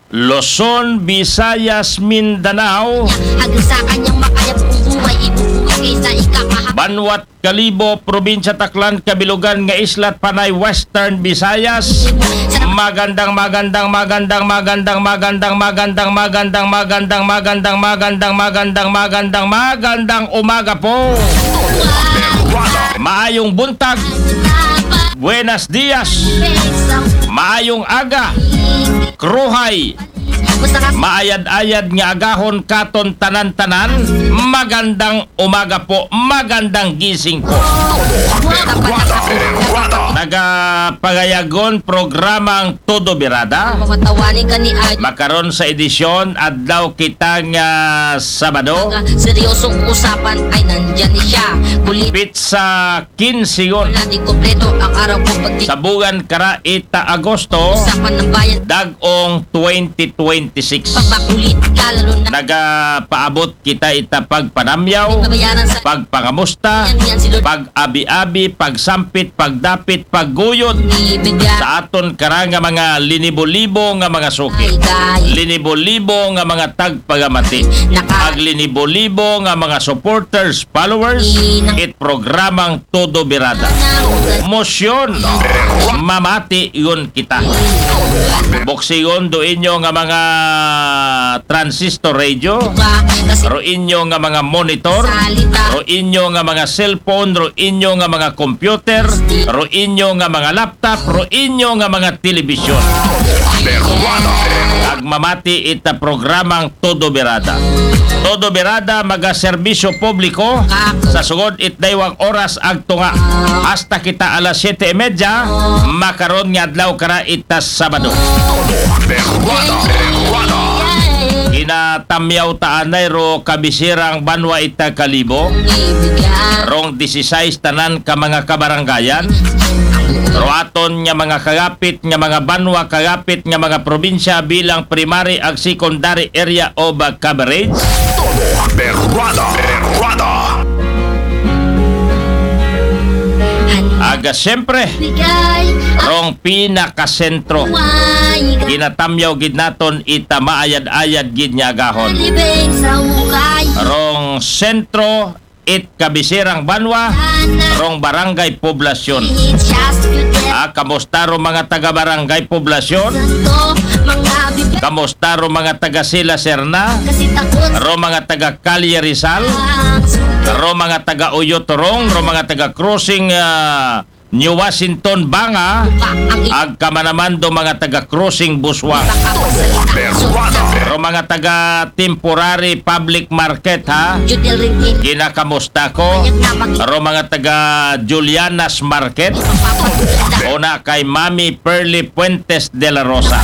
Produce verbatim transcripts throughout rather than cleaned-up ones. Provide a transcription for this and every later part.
Luzon, Visayas, Mindanao, hanggang sa kanyang makayap kong buhay, ibubuhay kaysa ikakahap. Banwat Kalibo, Probinsya Taclan, Cabilogan nga Isla, Panay, Western Visayas. Magandang, magandang, magandang, magandang, magandang, magandang, magandang, magandang, magandang, magandang, magandang, magandang umaga po. Maayong buntag. Buenas dias. Maayong aga. Kruhay. Maayad-ayad nga agahon katon tanan-tanan. Magandang umaga po, magandang gising po. Nagapangayagon programang Todo Birada. Makaron sa edisyon, adlaw kita nga Sabado. Seryosong usapan ay nandyan siya. Kulit Pizza kinsigon. Wala di kompleto ang araw ko pag di Sa buwan kara ita Agosto, usapan ng bayan. Dag-ong twenty twenty-six. Pagbakulit ka, lalo na Nagapaabot kita ita pagpanamyaw, Babayaran sa pagpangamusta, Yan, yan, si Lord. Pag-abi-abi, pagsampit, pagdapit, pagguyod. Ibigay. Sa aton kara nga mga linibo-libo nga mga suki. Ay, dahil. Linibo-libo nga mga tagpagamati. Naka- Ag linibo-libo nga mga supporters, followers, Inang- it programang Todo Birada. Mosyon, mamati yun kita. Boksigon do inyo nga mga transistor radio, ro inyo nga mga monitor, ro inyo nga mga cellphone, ro inyo nga mga computer, ro inyo nga mga laptop, ro inyo nga mga telebisyon. Ag mamati ita programang Todo Birada. Todo Birada, magaserbisyo publiko sa sugod it daywang oras ag tunga. Hasta kita alas siyete y media, makaron nga adlaw kara ita Sabado. Ginatamyaw ta anay ro kabisirang banwa ita Kalibo. Rong disisais tanan ka mga kabaranggayan. Ro aton nga mga kagapit nga mga banwa, kagapit nga mga probinsya bilang primary ag secondary area of coverage. Todo Birada, Birada. Aga siyempre, rong pinakasentro. Ginatamyaw gid naton ita maayad-ayad gid nga agahon. Rong sentro it kabisirang banwa, rong barangay poblasyon. Ah, kamusta ro mga taga barangay poblasyon? Kamusta ro mga taga Sila Serna? Ro mga taga Calle Rizal? Ro mga taga Uyotorong? Ro mga taga Crossing, ah, New Washington, Banga, ag kamanaman do mga taga Crossing Busuang. Ro mga taga Temporary Public Market, ha? Ginakamusta ko. Ro mga taga Juliana's Market. Una kay Mami Pearly Fuentes de la Rosa.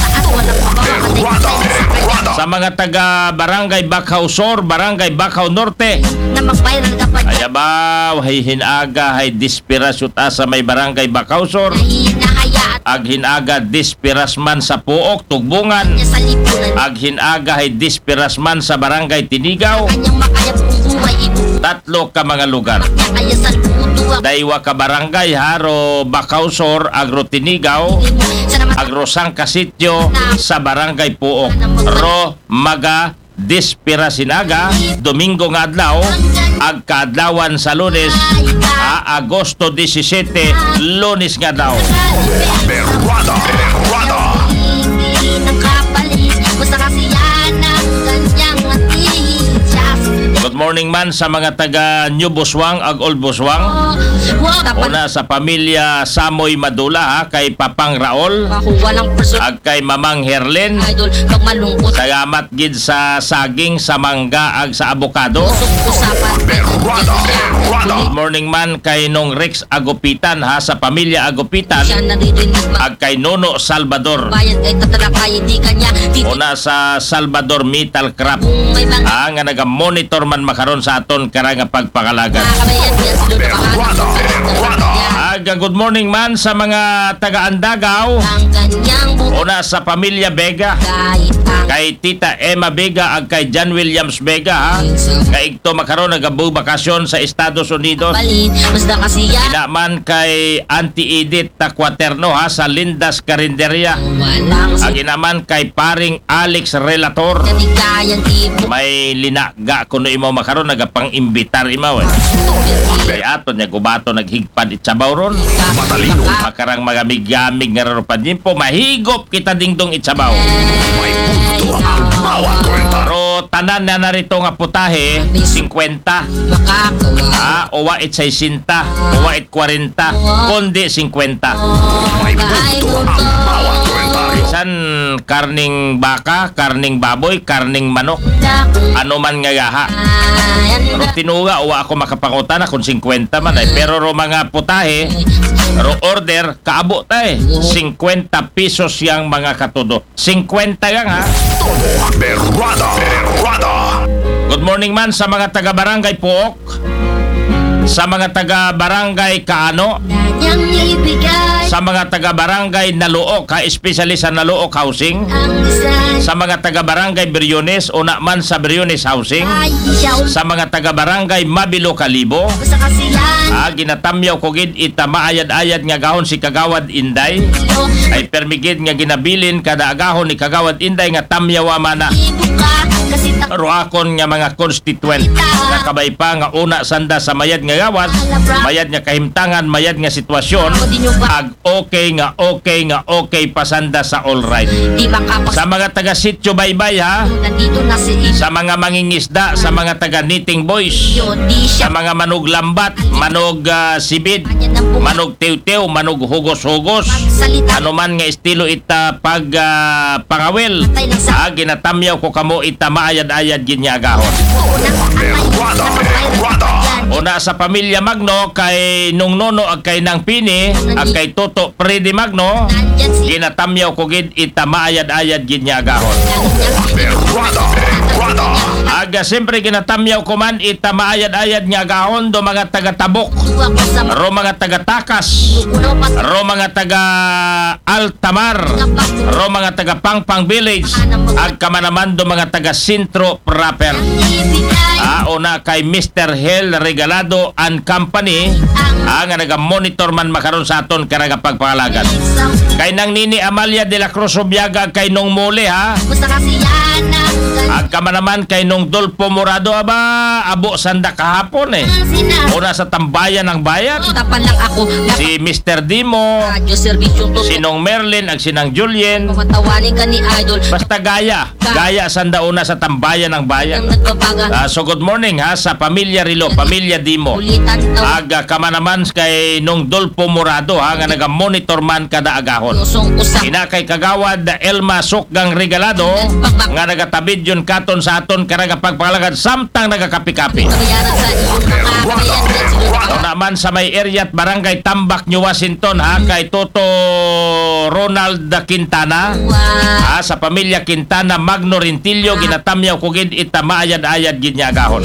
Sa mga taga Barangay Bacau Sur, Barangay Bacau Norte, na mag-viral ka pa. Ay, abaw, hay hinaga, hay dispiras yuta sa may Barangay Bacau Sur. Ag hinaga dispiras man sa Puok, Tugbungan. Ag hinaga, hay dispiras man sa Barangay Tinigaw. Tatlo ka mga lugar. Daywa ka barangay, ha, ro Bacau Sur, ag ro Tinigaw, ag ro Sangka Sitio, sa Barangay Puok. Ro maga dispiras hinaga, Domingo nga adlaw, ag kaadlawan sa Lunes, ha, Agosto disisete, Lunes nga adlaw. Berwada, Berwada. Good morning man sa mga taga New Busuang ag Old Busuang. Una sa pamilya Samoy Madula, ha, kay Papang Raol, ag kay Mamang Herlin. Salamat gid sa saging, sa mangga, ag sa abokado. Good morning man kay Nong Rex Agupitan, ha, sa pamilya Agupitan, ag kay Nono Salvador. Una sa Salvador Metal Craft, ah, nga naga-monitor man makaron sa aton kara nga pagpangalagad. Ag Good morning man sa mga taga Andagaw. Una sa pamilya Vega, kay Tita Emma Vega ag kay John Williams Vega, ha. Kaigto makaron nagabakasyon sa Estados Unidos. Ina man kay Auntie Edith Tacuaterno, ha, sa Linda's Carinderia. Ag ina man kay paring Alex Relator. May linaga kuno imaw makaron, nagapang-imbitar imaw, eh. Kay aton niya gubato naghigpad itsabaw ron. Matalino. Makarang magamig-gamig nga raro pa din po, mahigop kita dingdong itsabaw. May punto ang bawat kwenta. Pero tanan na narito nga putahe, singkwenta. Ah, uwa it sesenta, uwa it kwarenta, kundi singkwenta. May punto ang bawat kwenta. San karning baka, karning baboy, karning manok, ano man nga gaha. Pero tinuga, wa ako makapangutana kung singkwenta man ay. Pero ro mga putahe, ro order, kaabo tay. Singkwenta pesos yang mga katudo. Singkwenta yang, ha? Todo berwada, berwada. Good morning man sa mga taga Barangay Puok, sa mga taga Barangay Kaano, sa mga taga Barangay Naluok, ha, especially sa Naluok Housing, sa mga taga Barangay Briones, una man sa Briones Housing, sa mga taga Barangay Mabilo Kalibo, ah, ginatamyaw ko gid ita maayad-ayad nga gahon si Kagawad Inday. Ay permigid nga ginabilin kada agahon ni Kagawad Inday nga tamyawa mana. Ruakon nga mga constituent nga kabay pa nga una sanda sa mayad nga gawas, mayad nga kahimtangan, mayad nga sitwasyon, ag okay nga, okay nga, okay pa sanda sa all right. Sa mga taga Sitio Baybay, ha? Sa mga mangingisda, sa mga taga Knitting Boys, sa mga manuglambat, manog, ah, sibid, manog tiw-tiw, manog hugos-hugos. Ano man nga estilo ita pag, ah, pangawil. Ah, ginatamyaw ko kamo ita maayad-ayad gid nga agahon. Una sa pamilya Magno, kay Nung Nono, ag kay Nang Pini, ag kay Toto Freddy Magno, ginatamyaw ko gid ita maayad-ayad gid nga agahon. Aga, siyempre, ginatamyaw ko man ita maayad-ayad nga agahon do mga taga Tabok, ro mga taga Takas, ro mga taga Altamar, ro mga taga Pangpang Village, ag kamanaman do mga taga Sentro proper. Ah, una kay Mister Hel Regalado and Company, ah, nga naga-monitor man makaron sa aton karagapagpangalagad. Kay Nang Nini Amalia de la Cruz Obiaga, kay Nung Mole, ha? Ag kamanaman kay Nung Dolpo Morado, aba, abo sanda kahapon, eh. Una sa tambayan ng bayan. Si Mister Dimo, si Nung Merlin, ag si Nang Julien. Basta gaya. Gaya sanda una sa tambayan ng bayan. Ah, so good morning, ha, sa pamilya Rilo, pamilya Dimo. Aga kamanaman kay Nung Dolpo Morado, ha, nga naga-monitor man kada agahon. Ina kay Kagawad Elma Sukgang Regalado, nga nagatabid yun katon sa aton karagapagpangalagad samtang nagakapi-kapi. Naman sa may area at barangay Tambak, New Washington, ha, kay Toto Ronald Quintana. Ah, sa pamilya Quintana, Magno Rentillo, ginatamyaw ko gid ita maayad-ayad gid nga agahon.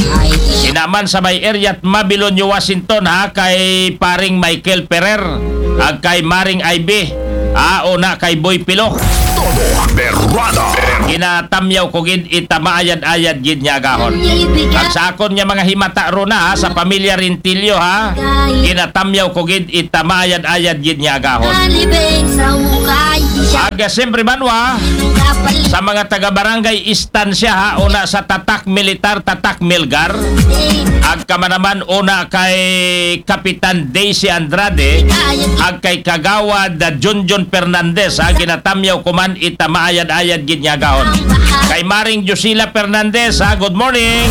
Inaman sa may area at Mabilon, New Washington, ha, kay paring Michael Ferrer, ag kay Maring Ivy, ah, una kay Boy Pilo. Todo berwada. Ginatamyaw ko gid ita maayad-ayad gid nga agahon. Ag sa akon nga mga himata runa, ha, sa pamilya Rentillo, ha, ginatamyaw ko gid ita maayad-ayad gid nga agahon. Aga siyempre, Banwa, sa mga taga Barangay Estancia, ha, una sa Tatak Militar, Tatak Milgar, ag kamanaman una kay Kapitan Daisy Andrade, ag kay Kagawad Junjun Fernandez, ha, ginatamyaw ko man ita maayad-ayad gid nga agahon. Kay Maring Josila Fernandez, ha, good morning.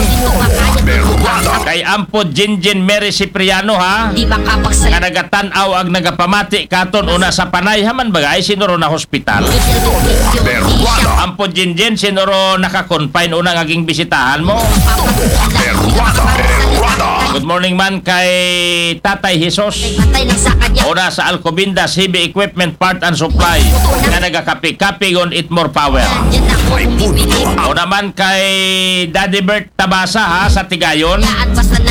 Kay Ampo Jinjin Mary Cipriano, ha, nga nagatan-aw ag nagapamati katon una sa Panay, ha man baga, ay sino ro na hospital? Ampo Jinjin, sino ro naka-confine una nga ginbisitahan mo? Good morning man kay Tatay Jesus. Una sa Alcobendas Heavy Equipment Part and Supply nga nagakapi-kapi gon it more power. Una man kay Daddy Bert Tabasa ha sa Tigayon,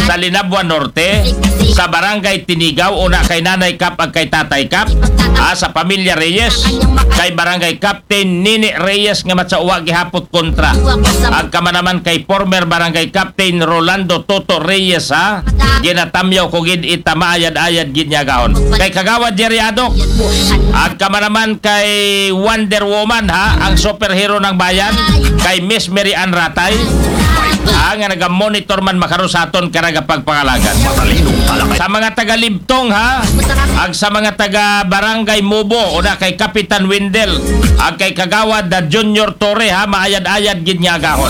sa Linabuan Norte, sa Barangay Tinigaw, una kay Nanay Kap ag kay Tatay Kap, ha, sa Pamilya Reyes, kay Barangay Captain Nini Reyes nga matsa uwa gihapot kontra. Ag kamanaman kay former Barangay Captain Rolando Toto Reyes ha, ginatamyaw ko gid ita maayad-ayad gid niya gahon. Kay Kagawad Jerry Adok, ag kamanaman kay Wonder Woman ha, ang superhero ng bayan, kay Miss Mary Ann Ratay, ha, nga naga-monitor man makaron sa aton karagapagpangalagan. Sa mga taga Libtong ha, ag sa mga taga Barangay Mubo, una kay Kapitan Windel, ag kay Kagawad na Junior Torre ha, maayad-ayad gid nga agahon.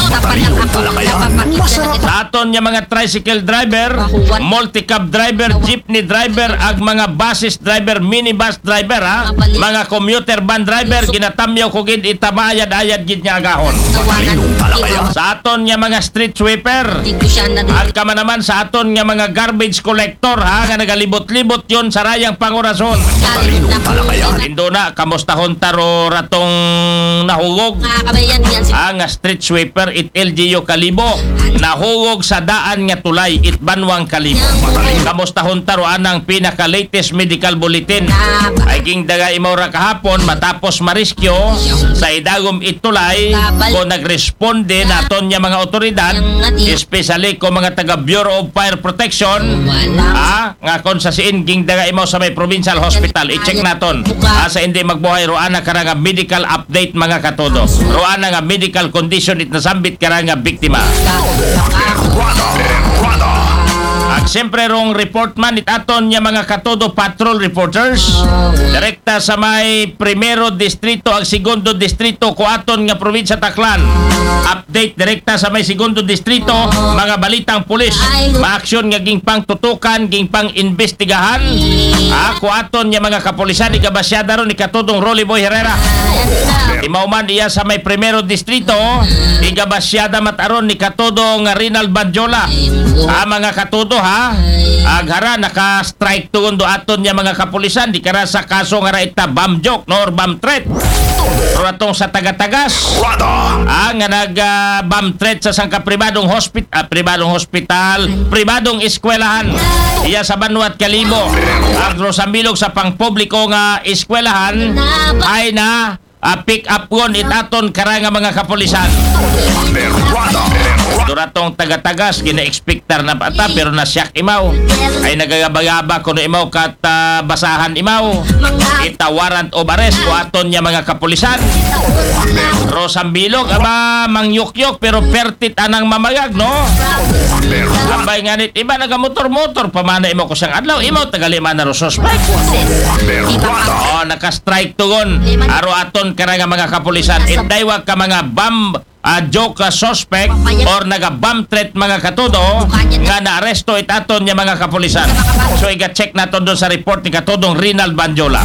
Sa aton nga mga tricycle driver, multicab driver, jeepney driver, ag mga buses driver, minibus driver ha, mga commuter van driver, ginatamyaw ko gid ita maayad-ayad gid nga agahon. Sa aton nga mga street sweeper, ag kamanaman sa aton nga mga garbage collector ha, nga nagalibot-libot yon sa rayang pangorason. Indo na, kamustahon ta ro ratong nahugog? Ang street sweeper it L G U Kalibo, nahugog sa daan nga tulay it Banwang Kalibo. Kamustahon ta ro anang pinaka-latest medical bulletin? Ay gingdaga imaw ra kahapon matapos mariskyo sa idagom it tulay ko nagresponde naton nga mga otoridad, especially ko mga taga Bureau of Fire Protection, ah, nga kon sa siin gingdaga imaw sa may provincial hospital. I-check naton. Ah, sa hindi magbuhay, roana kara nga medical update, mga katodo. Roana nga medical condition it nasambit kara nga biktima. Ag siyempre rong report man it aton nga mga katodo patrol reporters. Direkta sa may primero distrito ag segundo distrito ko aton nga probinsya Taclan. Update direkta sa may segundo distrito, mga balitang pulis. Maaksyon nga gingpangtutukan, gingpang-imbestigahan. Ah, ko aton nga mga kapulisan, igabasyada ron ni katodong Rolly Boy Herrera. Imaw man iya sa may primero distrito, igabasyada mat aron ni katodong Rinald Badjola. Ah, mga katodo ha. Aghara naka-strike tugon do aton nga mga kapulisan, di kara sa kaso nga ra ita bomb joke, no, or bomb threat. Pero atong sa taga-tagas, ah, nga nag, ah, bomb threat sa sangka pribadong hospital, ah, pribadong hospital, pribadong eskwelahan. Iya sa Banwat Kalibo, ang Rosambilog sa pangpubliko nga eskwelahan ay na, ah, pick up gon it aton kara nga mga kapulisan. Duratong taga-tagas, gina-expectar na pa ta, pero nasyak imaw. Ay nagagaba-gaba kuno imaw kat, ah, basahan imaw. Ita warrant of arrest ko aton nga mga kapulisan. Rosambilog, aba, mangyukyok, pero pertit anang mamagag, no? Abay nga nit, iba nagamotor-motor, pamana imaw ko siyang adlaw, imaw tagali man na ro suspect. Oh, naka-strike tugon. Aro aton kara nga mga kapulisan. It daywag ka mga bomb, ah, joke, ah, suspect or naga-bomb threat, mga katodo, nga naaresto it aton nga mga kapulisan. So, iga-check naton doon sa report ni katodong Rinald Banjola.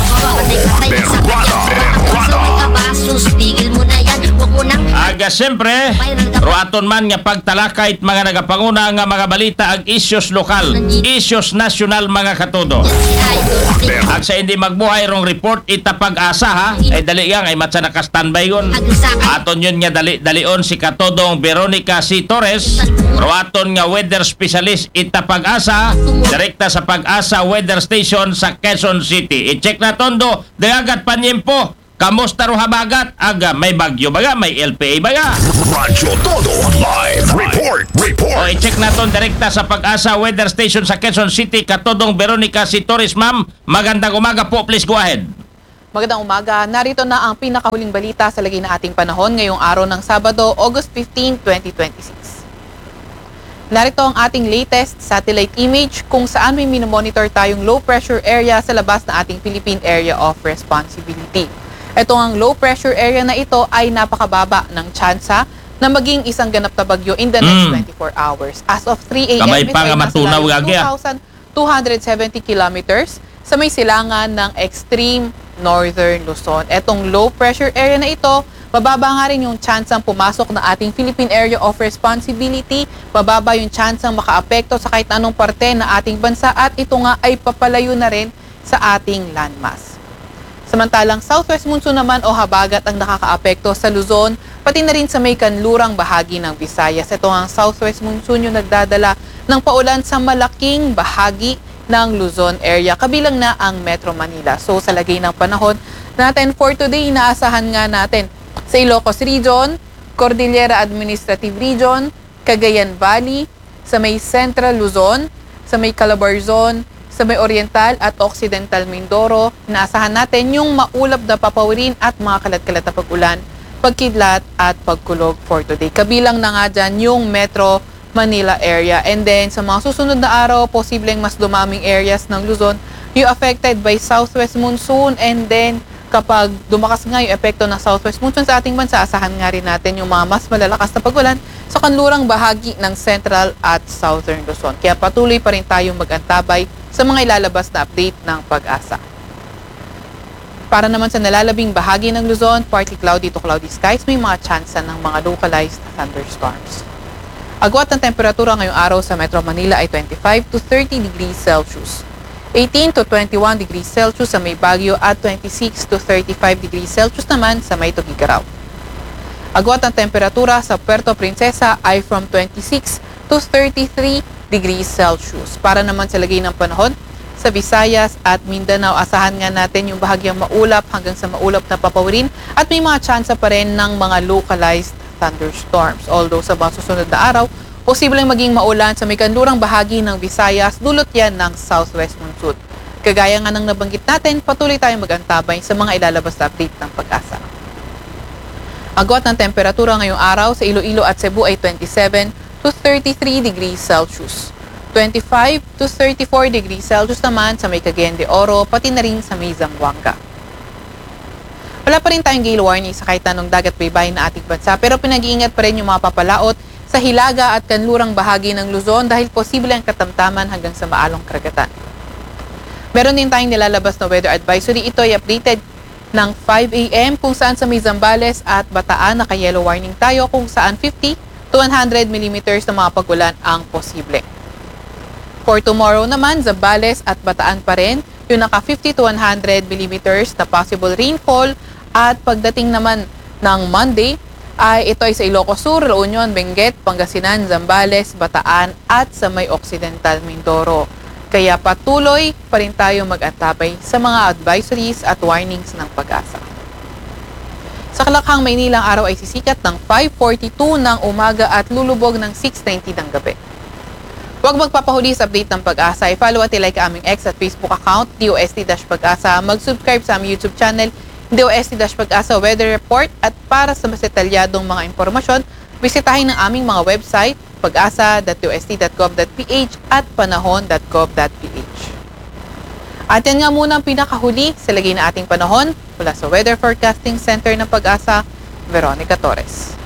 Aga, siyempre, ro aton man nga pagtalakay it mga nagapanguna nga mga balita ag issues lokal, issues nasyonal, mga katodo. Ag sa hindi magbuhay rong report ita Pag-asa ha. Ay dali gang, ay matsa naka-standby gon. Aton yun nga dali, dalion si katodong Veronica C. Torres, ro aton nga weather specialist ita Pag-asa, direkta sa Pag-asa Weather Station sa Quezon City. I-check naton do, dagat panyempo. Kamusta ro habagat? Aga, may bagyo baga, may L P A baga. Radyo Todo Live Report. Report. O, i-check naton direkta sa Pag-asa Weather Station sa Quezon City, katodong Veronica C. Torres, ma'am. Magandang umaga po, please go ahead. Magandang umaga. Narito na ang pinakahuling balita sa lagay ng ating panahon ngayong araw ng Sabado, August fifteen, twenty twenty-six. Narito ang ating latest satellite image kung saan may minomonitor tayong low pressure area sa labas ng ating Philippine Area of Responsibility. Ito ang low pressure area na ito ay napakababa ng tsansa na maging isang ganap na bagyo in the next Mm. twenty-four hours. As of three a m, Kamay ito pa ay nga nasa matunaw layo ng gagi, ah. two thousand two hundred seventy kilometers sa may silangan ng extreme northern Luzon. Etong low pressure area na ito Mababa nga rin yung tsansang pumasok ng ating Philippine Area of Responsibility, mababa yung tsansang makaapekto sa kahit anong parte ng ating bansa at ito nga ay papalayo na rin sa ating landmass. Samantalang southwest monsoon naman o habagat ang nakakaapekto sa Luzon, pati na rin sa may kanlurang bahagi ng Visayas. Ito ang southwest monsoon yung nagdadala ng paulan sa malaking bahagi ng Luzon area, kabilang na ang Metro Manila. So sa lagay ng panahon natin for today, inaasahan nga natin sa Ilocos Region, Cordillera Administrative Region, Cagayan Valley, sa may Central Luzon, sa may Calabarzon, sa may Oriental at Occidental Mindoro, inaasahan natin yung maulap na papawirin at mga kalat-kalat na pag-ulan, pagkidlat at pagkulog for today. Kabilang na nga dyan yung Metro Manila area. And then sa mga susunod na araw, posibleng mas dumaming areas ng Luzon yung affected by southwest monsoon, and then kapag dumakas nga yung epekto ng southwest monsoon sa ating bansa, asahan nga rin natin yung mga mas malalakas na pagulan sa kanlurang bahagi ng central at southern Luzon. Kaya patuloy pa rin tayong mag-antabay sa mga ilalabas na update ng PAGASA. Para naman sa nalalabing bahagi ng Luzon, partly cloudy to cloudy skies, may mga tsansa ng mga localized thunderstorms. Agwat ng temperatura ngayong araw sa Metro Manila ay twenty-five to thirty degrees Celsius, eighteen to twenty-one degrees Celsius sa may Baguio at twenty-six to thirty-five degrees Celsius naman sa may Tuguegarao. Agwat ng temperatura sa Puerto Princesa ay from twenty-six to thirty-three degrees Celsius. Para naman sa lagay ng panahon, sa Visayas at Mindanao, asahan nga natin yung bahagyang maulap hanggang sa maulap na papawirin at may mga tsansa pa rin ng mga localized thunderstorms. Although sa mga susunod na araw, posibleng maging maulan sa may kanlurang bahagi ng Visayas, dulot yan ng southwest monsoon. Kagaya nga ng nabanggit natin, patuloy tayong mag-antabay sa mga ilalabas na update ng PAGASA. Agwat ng temperatura ngayong araw sa Iloilo at Cebu ay twenty-seven to thirty-three degrees Celsius, twenty-five to thirty-four degrees Celsius naman sa may Cagayan de Oro, pati na rin sa may Zamboanga. Wala pa rin tayong gale warning sa kahit anong dagat baybayin na ating bansa, pero pinag-iingat pa rin yung mga papalaot sa hilaga at kanlurang bahagi ng Luzon dahil posible ang katamtaman hanggang sa maalong karagatan. Meron din tayong nilalabas na weather advisory. Ito ay updated ng five a.m. kung saan sa may Zambales at Bataan naka-yellow warning tayo, kung saan fifty to one hundred millimeters ng mga pagulan ang posible. For tomorrow naman, Zambales at Bataan pa rin yung naka fifty to one hundred millimeters na possible rainfall. At pagdating naman ng Monday, ay ito ay sa Ilocos Sur, La Union, Benguet, Pangasinan, Zambales, Bataan at sa may Occidental Mindoro. Kaya patuloy pa rin tayo mag-antabay sa mga advisories at warnings ng PAGASA. Sa Kalakhang, Maynila, ang araw ay sisikat ng five forty-two ng umaga at lulubog ng six twenty ng gabi. Huwag magpapahuli sa update ng PAGASA. I-follow at i-like ang aming X at Facebook account, D O S T dash PAGASA. Mag-subscribe sa aming YouTube channel, D O S T dash PAGASA Weather Report. At para sa mas detalyadong mga impormasyon, bisitahin ang aming mga website, pagasa.dost.gov.ph at panahon.gov.ph. At yan nga muna ang pinakahuli sa lagay ng ating panahon. Mula sa Weather Forecasting Center ng PAGASA, Veronica Torres.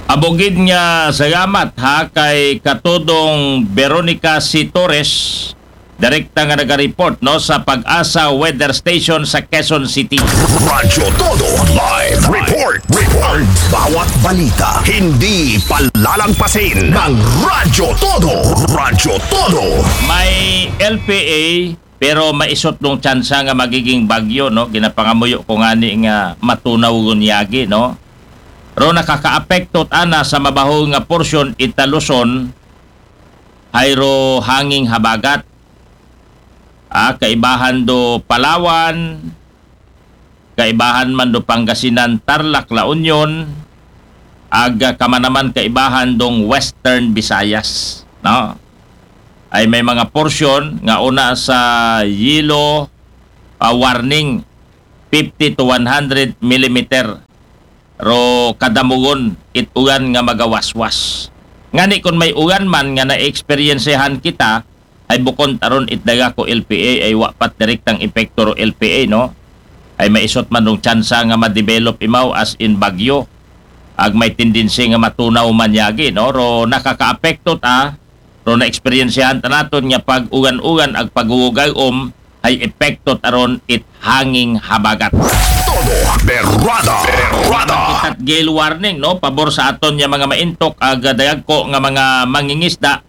Abugid nga salamat ha kay Katudong Veronica C. Torres, direkta nga naga-report, no, sa PAGASA Weather Station sa Quezon City. Radyo Todo Live Report. Report. Bawat balita hindi palalagpasin ng Radyo Todo. Radyo Todo. May L P A, pero maisot nung tsansa nga magiging bagyo, no? Ginapangamuyo ko ngani nga matunaw gun yagi, no? Ro nakakaapekto ana sa mabahul nga porsyon ita Luzon, hayro hanging habagat. Ah, kaibahan do Palawan, kaibahan man do Pangasinan, Tarlac, La Union, ag, ah, kamanaman kaibahan dong Western Visayas, no? Ay may mga porsyon nga una sa yellow, ah, warning, fifty to one hundred millimeter ro kadamugon it ugan nga magawaswas. Ngani kon may ugan man nga naeksperyensyahan kita, ay bukon ta ron it daga ko L P A ay wa pat direktang epekto ro L P A, no? Ay maisot man rong tsansa nga ma-develop imaw as in bagyo. Ag may tendency nga matunaw man yagi, no? Ro nakakaapekto ta, ro naeksperyensyahan ta naton nga pag-ugan-ugan ag pagugugay-om ay epekto ta ron it hanging habagat. Todo Berrada. Kita't gale warning, no? Pabor sa aton nga mga maintok, ag dayagko nga mga mangingisda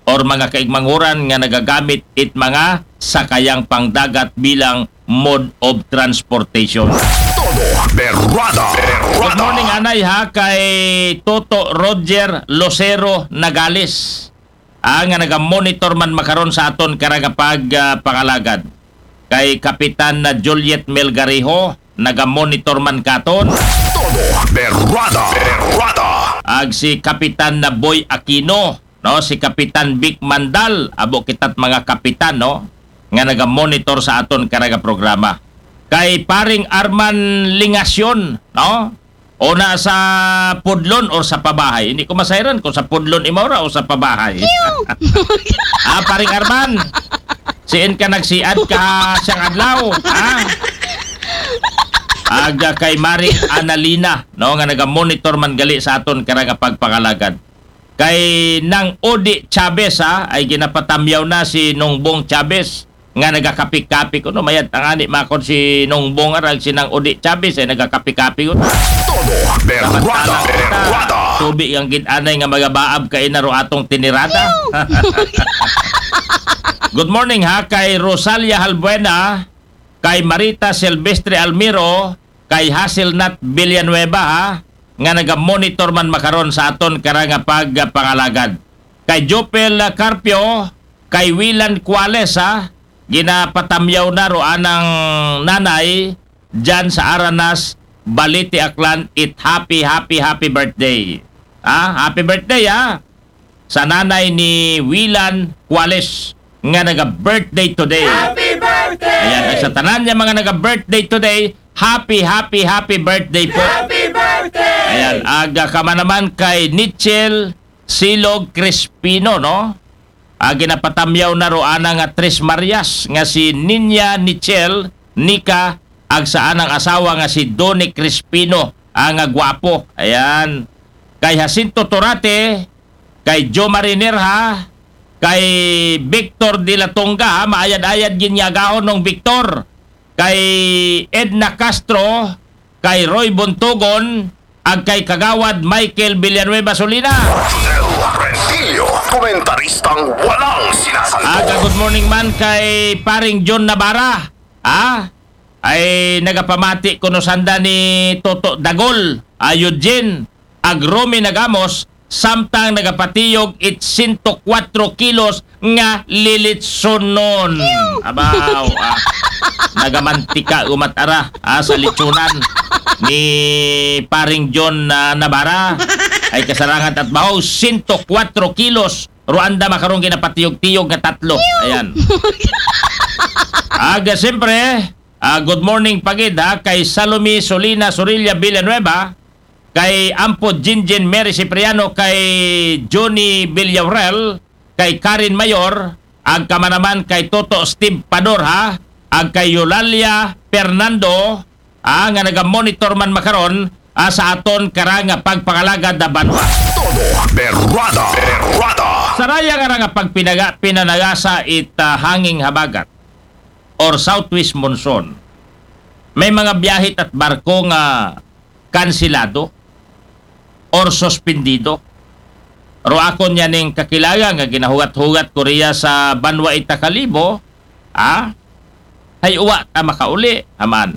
or mga kaigmanghuran nga nagagamit it mga sakayang pangdagat bilang mode of transportation. Todo Berrada. Good morning, anay, ha, kay Toto Roger Lucero Nagales. Ah, nga naga-monitor man makaron sa aton karagapag, ah, pangalagad. Kay Kapitan na Juliet Melgarejo, naga-monitor man katon. Todo Berrada. Berrada. Ag si Kapitan na Boy Aquino, no, si Kapitan Vic Mandal, abo kita't mga kapitan, no, nga naga-monitor sa aton karaga programa. Kay Paring Arman Lingasyon, no, o na sa Pudlon or sa Pabahay. Hindi ko masayran kung sa Pudlon imaw ra o sa Pabahay. Ah, Paring Arman, siin ka nagsiad ka siyang adlaw, ha? Aga kay Mari Analina, no, nga naga-monitor man gali sa aton karagapag pangalagad. Kay Nang Odi Chavez, ha, ay ginapatamyaw na si Nongbong Chavez nga nagakapi-kapi kuno. Mayad tangani makon si Nongbong arag si Nang Odi Chavez ay nagakapi-kapi kuno. Todo Berrada. Berrada. Tubi ang gid anay nga magabaab kay naro atong tinirada. Good morning, ha, kay Rosalia Halbuena, kay Marita Silvestre Almiro, kay Hazelnut Villanueva, ha, nga naga-monitor man makaron sa aton karagapag pangalagad. Kay Jopel Carpio, kay Wilan Cuales, ha, ginapatamyaw na ro anang nanay dyan sa Aranas, Balete, Aklan, it happy, happy, happy birthday. Ha? Happy birthday, ha? Sa nanay ni Wilan Cuales nga naga-birthday today. Happy birthday! Ayan, at sa tanan niya mga naga-birthday today, happy, happy, happy birthday po. Happy birthday! Ayan, aga ka man naman kay Nichel Silog Crispino, no? Ah, ginapatamyaw na ro ana nga Tres Marias nga si Ninya Nichel Nika ag sa anang asawa nga si Donnie Crispino, ah, nga gwapo. Ayan. Kay Jacinto Torate, kay Joe Marinerha, kay Victor de la Tonga, ha, maayad-ayad ginyagahon nung Victor, kay Edna Castro, kay Roy Bontogon, ag kay Kagawad Michael Villanueva Solina. Del Rentillo, komentaristang walang sinasalpo. Aga, good morning man kay Paring John Navarra. Ah, ay nagapamati kuno sanda ni Toto Dagol, ah, Eugene, ag Romy Nagamos, samtang nagapatiyog it sento kwatro kilos nga lilitsonon. Abaw, ah, nagamantika umat ara, ah, sa litsonan ni Paring John, ah, Navarra. Ay kasarangan at bahaw, sento kwatro kilos. Ruanda makarong ginapatiyog-tiyog nga tatlo. Ayan. Aga, siyempre, ah, good morning pagid, ha, kay Salome Solina Sorilla Villanueva, kay Ampo Jinjin Mary Cipriano, kay Johnny Villaurel, kay Karen Mayor, ag kamanaman kay Toto Steve Pador, ha, ag kay Eulalia Fernando, ah, nga naga-monitor man makaron, ah, sa aton karang pagpangalagad na banwa. Todo Berrada. Berrada. Saraya nga nga pagpinaga, pinanagasa it, ah, hanging habagat or southwest monsoon. May mga biyahit at barko nga kansilado or suspendido. Ro akon yaning kakilala nga ginahugat-hugat ko riya sa banwa ita Kalibo, ah, hay uwa ta makauli, aman.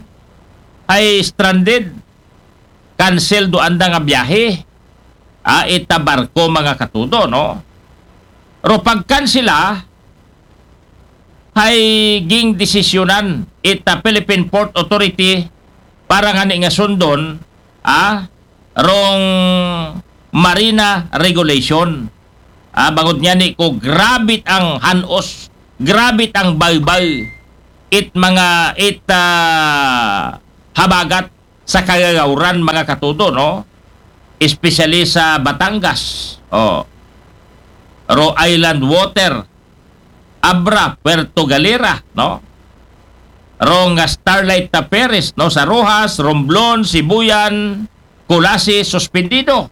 Hay stranded, cancel do anda nga biyahe, ah, ita barko mga katudo, no? Ro pagkansela, hay ging desisyonan ita Philippine Port Authority para ngani nga sundon, ah, rong marina regulation. Ah, bangod ngani ko, grabit ang hanos, grabit ang baybay, it mga, it, ah, habagat sa kagagawran, mga katudo, no? Especially sa Batangas, oh. Ro Island Water, Abra, Puerto Galera, no? Ro nga Starlight Taperes, no? Sa Roxas, Romblon, Sibuyan, Culasi, suspendido.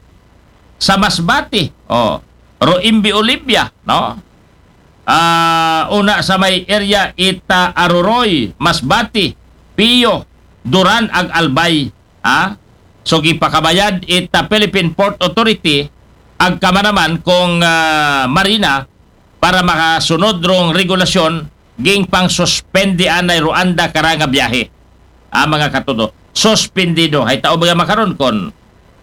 Sa Masbate, oh. Ro Imbi Olivia, no? Ah, una sa may area ita Aroroy, Masbate, Pio, Duran, ag Albay, ha? So, gipakabayad it, ah, Philippine Port Authority, ag kamanaman kung, ah, marina, para makasunod rong regulasyon, gingpangsuspende anay ro anda kara nga biyahe. Ah, mga katudo, suspendido. Hay tao ba nga makaron kon,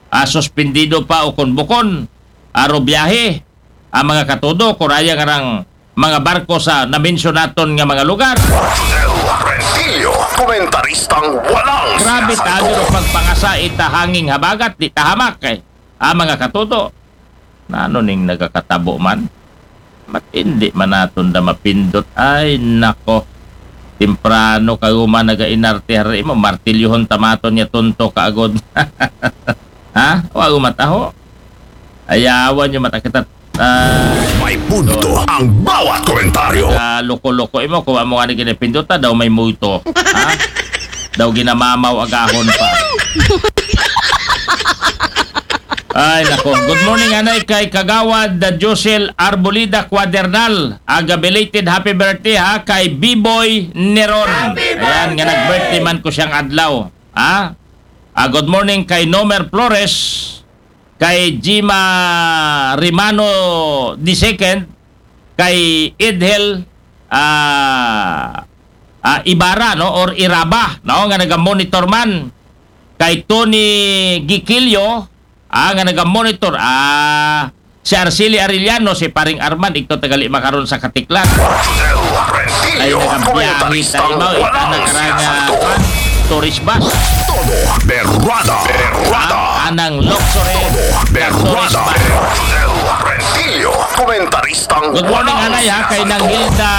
ah, suspendido pa o kon bukon, ah, ro biyahe, ah, mga katudo, kuraya nga rang mga barko sa namensyon naton nga mga lugar. Rodel Rentillo, komentaristang walang Grabe sinasagot. Tayo ro pagpangasa ita hanging habagat, di tahamak eh. Ah, mga katudo, nano ning nagakatabo man? Matindi man naton da mapindot. Ay, nako. Temprano ka guma nagainarte hari mo. Martilyohon tamaton niya tunto ka agod. Ha? Wa gumataho. Ayawan nyo mata kita. Ah, May punto ang bawat komentaryo. Ah, loko-loko imo, kung amo nga ni ginapindota, daw may multo. Ha? Daw ginamamaw agahon pa. Ay, nako. Good morning, anay, kay Kagawad, the Josel Arbolida Cuadernal. Aga belated happy birthday, ha, kay B-Boy Neron. Ayan, nga nag-birthday man ko siyang adlaw. Ha? Ah, good morning kay Nomer Flores, kay Jima Rimano the second, kay Edhel, ah, ah, Ibarra, no, or Iraba, no, nga naga-monitor man, kay Tony Giquilio, ah, nga naga-monitor, ah, si Arceli Arellano, si Paring Arman, igto tagali makaron sa Katiklan. Rodel Ay, Rentillo, nagabiyahe komentaristang tayo, ikaw walang na karanga sinasagot. Tourist bus. Todo berrada, berrada. Ang anang luxury Todo na tourist berrada. Bus. Rodel Rentillo, komentaristang Good morning, walang anay, ha, kay sinasagot. Nang Hilda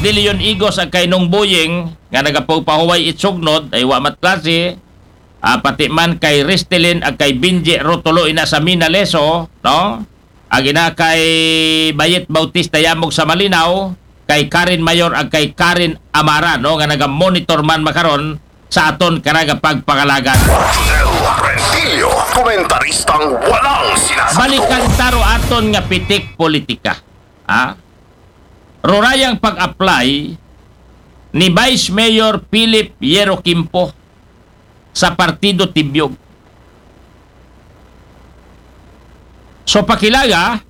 De Leon Igos ag kay Nong Boying, nga nagapagpahuway itsugnod, ay wa mat klase, ah, pati man kay Restelin ag kay Binji Rotolo ina sa Minaleso, no? Ag ina kay Bayet Bautista Yamog sa Malinaw, kay Karen Mayor ag kay Karen Amara, no, nga naga-monitor man makaron sa aton karagapag pangalagan. Rodel Rentillo, komentaristang walang sinasagot. Balikan taro aton nga pitik politika. Ha? Rurayang pag-apply ni Vice Mayor Philip Yero Kimpo sa Partido Tibyog. So, pakilaga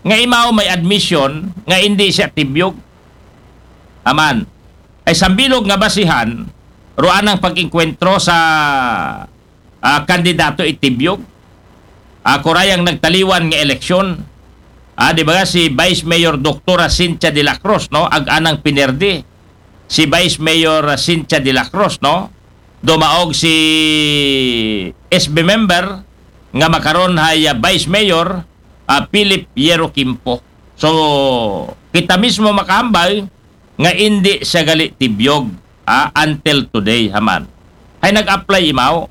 nga imaw may admission nga hindi siya Tibyog. Aman. Ay sambilog nga basihan, ruan ang pag-engkwentro sa, ah, kandidato itibyog. Ah, kurayang nagtaliwan nga eleksyon. Ah, di ba si Vice Mayor Doktora Cynthia de la Cruz, no? Ag anang pinerdi si Vice Mayor, ah, Cynthia de la Cruz, no? Dumaog si S B member nga makaron hay, ah, Vice Mayor, ah, Philip Yero Kimpo. So, kita mismo makahambal nga indi siya gali tibyog, ah, until today, haman. Hay nag-apply imaw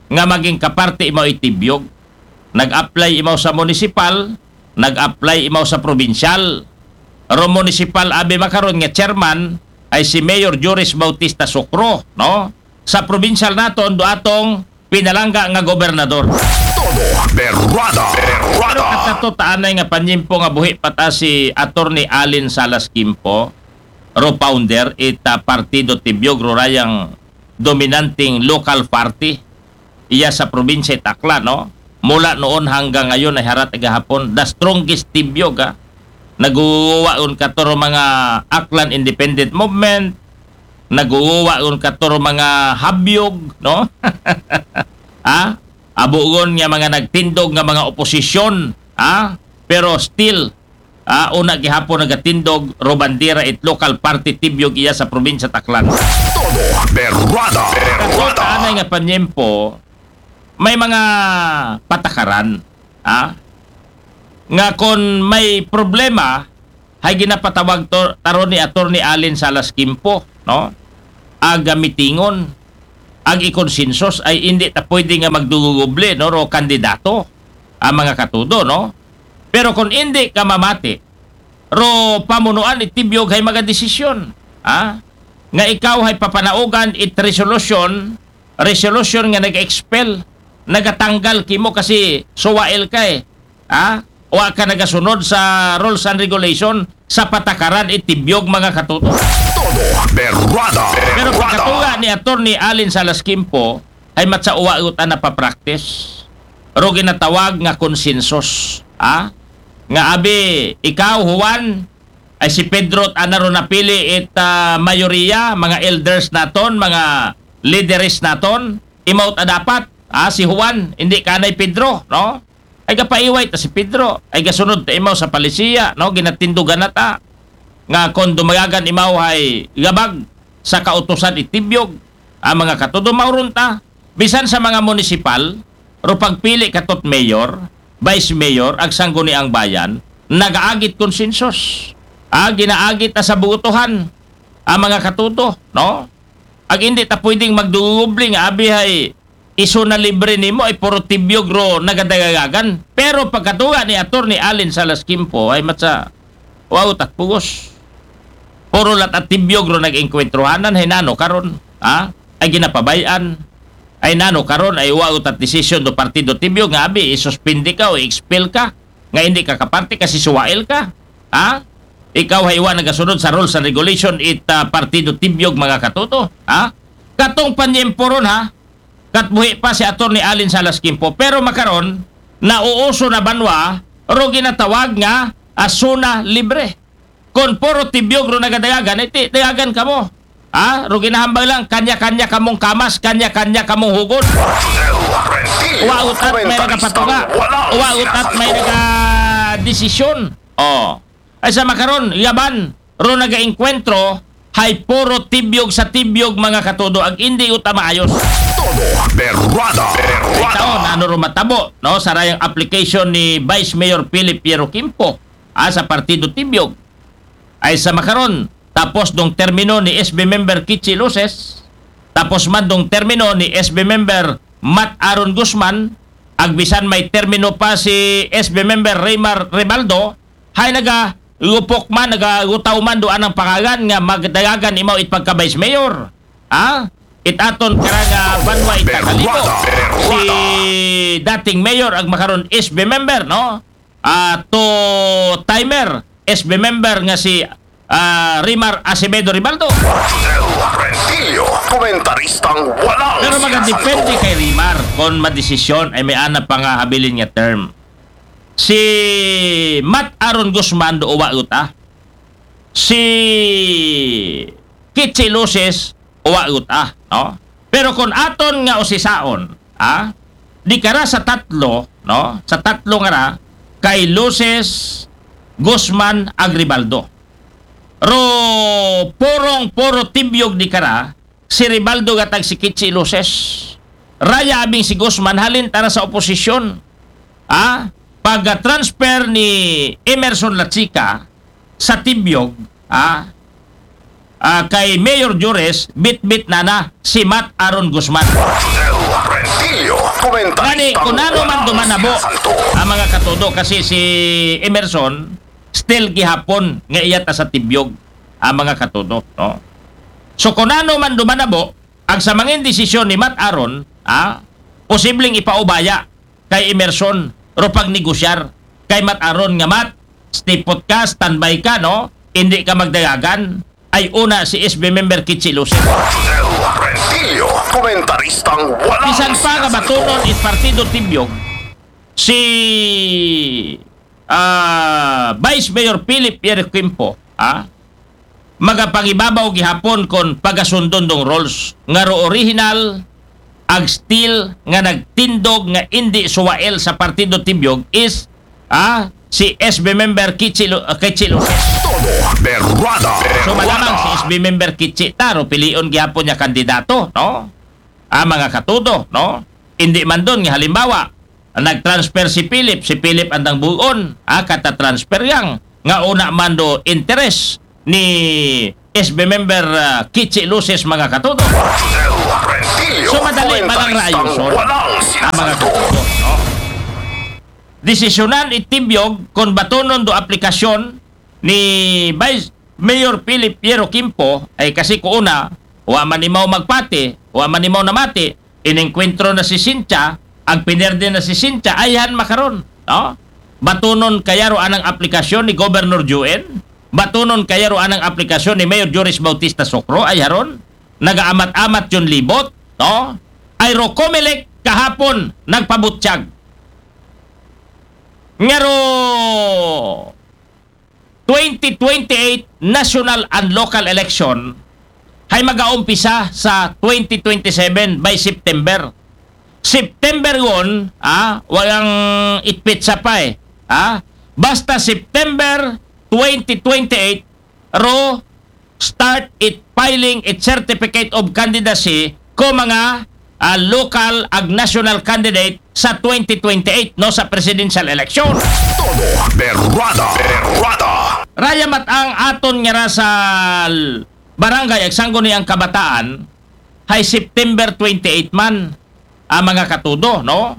nga maging kaparte imaw itibyog. Nag-apply imaw sa munisipal, nag-apply imaw sa probinsyal. Ro munisipal abi makaron nga chairman ay si Mayor Joris Bautista Sukro, no? Sa probinsyal naton, do atong pinalangga nga gobernador. Todo berrada, berrada. Pero katato taanay nga panyimpo nga buhi pa ta si Attorney Allen Salas Kimpo, ro founder ita Partido Tibyog, ro rayang dominanting local party iya sa probinsya it Aklan, no? Mula noon hanggang ngayon ay harat gahapon, the strongest Tibyog, ha? Naguwa un katuro mga Aklan Independent Movement, naguwa un katuro mga habyog, no? Ha? Abugon nga mga nagtindog nga mga oposisyon, ha? Pero still, ah, una gihapon nagatindog ro bandera it local party Tibyog iya sa probinsya Aklan. Todo berrada, berrada. Anay nga panyempo, may mga patakaran, ha? Nga kon may problema, hay ginapatawag to, taro ni Attorney Allen Salas Kimpo, no? Aga mitingon, ag ikonsensus ay hindi ta pwede nga magduguguble, no, ro kandidato ang mga katudo, no? Pero kung hindi ka mamati, ro pamunuan itibyog hay mga desisyon, ha? Nga ikaw hay papanaugan it resolution, resolution nga nag-expel, nagatanggal kimo kasi suwail kay, ha? Wa ka nagasunod sa rules and regulation sa patakaran itibyog mga katuto. Todo berrada. Pero pagkatuga ni Attorney Allen Salas Kimpo, hay matsa uwa uta na pa-practice. Ro ginatawag nga konsensus. Ha? Nga abi, ikaw, Juan, ay si Pedro, ana ro napili it, ah, mayoriya, mga elders naton, mga lideres naton, imaw ta dapat, ah, si Juan, hindi kanay Pedro, no? Ay gapaiway ta si Pedro, ay gasunod ta imaw sa palisiya, no? Ginatindugan na ta. Nga kon dumayagan imaw hay gabag sa kautusan itibyog, ang mga katudo mauron ta, bisan sa mga munisipal, ro pagpili katot mayor, vice mayor, ag sangguniang bayan, nagaagit konsensus. Ah, ginaagit ta sa buotohan, ang mga katudo, no? Ag hindi ta pwedeng magdugubli nga abi hay iso na libre nimo ay puro tibyog ro nagadagagan. Pero pagkatuga ni Attorney Allen Salas Quimpo ay matsa, wow, tat pugos. Puro lat at tibyog ro nag-engkwentrohanan, hay nano karon, ha? Ay ginapabay-an. Ay nano karon, ay wow, tat desisyon do partido tibyog nga abi, isuspindi ka o i-expel ka, nga hindi ka kaparte kasi suwail ka. Ha? Ikaw hay wa nagasunod sa rules and regulation it, ah, partido tibyog, mga katudo. Ha? Katong panyempo ron, ha? Katbuhi pa si Attorney Allen Salas Quimpo. Pero makaron, nauuso na banwa, ro ginatawag nga asuna libre. Kon puro tibyog ro nagadayagan, iti dayagan kamo. Ha? Ro ginahambal lang, kanya-kanya kamong kamas, kanya-kanya kamong hugod. Wa utat may nagapatunga. Wa utat may nagadesisyon. Oh. Ay sa makaron, yaban, ro nagaengkwentro, hay puro tibyog sa tibyog, mga katudo, ag hindi uta maayos. Todo berwada. Berwada. Taon, ano ro matabo, no? Sarayang application ni Vice Mayor Philip Piero Quimpo, ah, sa Partido Tibyog. Ay sa makaron, tapos dong termino ni S B member Kichi Luces, tapos man dong termino ni S B member Matt Aaron Guzman, ag bisan may termino pa si S B member Raymar Rebaldo, hay naga lupok man, nagagutaw man do anang pangagan nga magdayagan imaw it pagka-vice mayor. Ha? It aton kara nga banwa it kakalibo. Si dating mayor ag makaron S B member, no? Ah, two timer S B member nga si, ah, Rimar Acevedo Ribaldo. Rodel Rentillo, komentaristang walang Pero magadepende kay Rimar kon madesisyon ay may ana pa nga habilin nga term. Si Matt Aaron Guzman do uwa uta. Si Kichi Luces uwa uta, no? Pero kon aton nga usisaon, ah, di kara sa tatlo, no? Sa tatlo nga ra, kay Luces, Guzman, ag Ribaldo. Ro purong puro tibyog di kara, si Ribaldo gatag si Kichi Luces. Raya abing si Guzman, halin tara sa oposisyon. Ah, pag-transfer ni Emerson Lachica sa tibyog, ah, ah, kay Mayor Jores, bitbit na na si Matt Aaron Guzman. Rodel Rentillo, komentaristang Gani, kung ano man walang dumanabo, siyasanto. Ang mga katudo, kasi si Emerson, still gihapon nga iya ta sa tibyog, ang mga katudo, no? So, kung ano man dumanabo, ang sa mangin desisyon ni Matt Aaron, ah, posibleng ipaubaya kay Emerson, ro pagnegosyar kay Matt Aaron nga, "Matt, stipot ka, standby ka, no? Hindi ka magdayagan, ay una si S B member Kichi Luces." Rodel Rentillo, komentaristang walang Bisan pa nga siyasanto. Batunon it Partido Tibyog, si, ah, Vice Mayor Philip Pierre Quimpo, ah, magapangibabaw gihapon kon pagasundon dong rules nga ro original ag still nga nagtindog nga indi suwail sa Partido Tibyog is, ah, si S B member Kichi Lu-, ah, Kichi Luces. Todo berwada. So, malamang si S B member Kichi taro pilion gihapon niya kandidato, no? Ah, mga katudo, no? Hindi man dun nga halimbawa, nag-transfer si Philip, si Philip andang buon, ah, kata-transfer yang nga una man do interes ni S B member, ah, Kichi Luces, mga katudo. Rodel Rentillo, So, madali man ang komentaristang rayuson, walang ah, mga siyasanto. Katudo, no? Desisyonan itibyog kon batunon do aplikasyon ni Vice Mayor Philip Piero Quimpo, ay kasi ko una, wa man imaw magpati, wa man imaw namati, inengkwentro na si Cynthia, ag pinerde na si Cynthia, ayhan makaron, no? Batunon kaya ro anang aplikasyon ni Governor Juen, batunon kaya ro anang aplikasyon ni Mayor Joris Bautista Socro, ay haron, nagaamat-amat yun libot, no? ay ro Comelec kahapon nagpabutyag nga ro twenty twenty-eight national and local election hay magaumpisa sa twenty twenty-seven by September. September gon, ah, walang itpitsa pa eh. Ah, basta September twenty twenty-eight, ro start it filing it certificate of candidacy ko mga, ah, local ag national candidate sa twenty twenty-eight, no, sa presidential election. Todo berrada, berrada. Raya mat-ang aton nga ra sa l-, barangay ag sangguniang kabataan, hay September twenty-eight man, ah, mga katudo, no?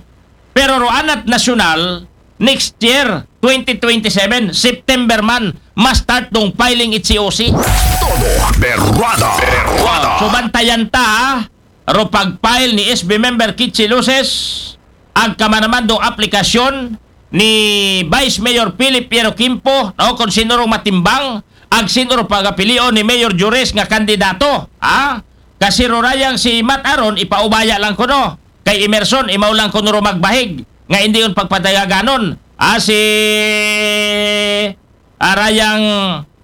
Pero ro anat nasyonal, next year, twenty twenty-seven, September man, ma-start dong filing it C O C. Todo berrada, berrada. So, bantayan ta, ha? Ro pag-file ni S B member Kichi Luces, ag kamanaman dong aplikasyon ni Vice Mayor Philip Piero Quimpo, no, kung sino rong matimbang, ag sino rong pagapilion ni Mayor Jures nga kandidato, ha? Kasi ro rayang si Matt Aaron, ipaubaya lang kuno. Kay Emerson, imaw lang kuno ro magbahig nga indi on pagpadayaganon. Ah, si, ah, rayang,